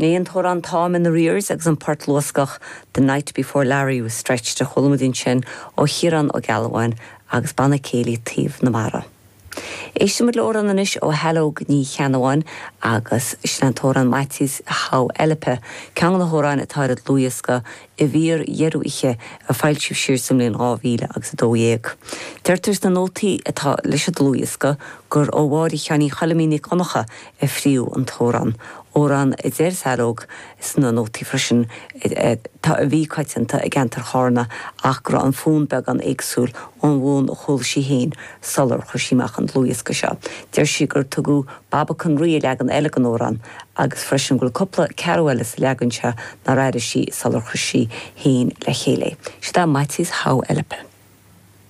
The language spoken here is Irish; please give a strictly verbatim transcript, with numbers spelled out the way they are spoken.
Sin an t-amhrán Táim in Arrears agus an port luascach The Night Before Larry was stretched a chuala muid ansin ó Chiarán Ó Gealbháin agus banna céilí Taobh na Mara. Éistfimid le hamhrán anois ó Shaileog Ní Cheannabháin agus sin an t-amhrán Maitias How Eilepe, ceann de na hamhráin atá ar dhlúthdhiosca i bhfíordheireadh oíche a foilsíodh siar sa mbliain dhá mhíle agus a dó dhéag. Deirtear sna nótaí atá leis an dlúthdhiosca gur ó Mháire Sheáinín Choilimín Nic Dhonncha a fríodh an t-amhrán. Amhrán a deir Saileog sna nótaí freisin tá a bhí coitianta i gceantar Chárna ach go raibh an fonn beagán éagsúil ón bhfonn a chuala sí féin sular chuir sí amach an dlúthdhiosca seo. Deir sí gur tugadh Babacan Rí i leagan eile den amhrán agus freisin go bhfuil cúpla ceathrú eile sa leagan seo nár airigh sí sular chuir sí féin le chéile. Sin é Maitias How Eilepe.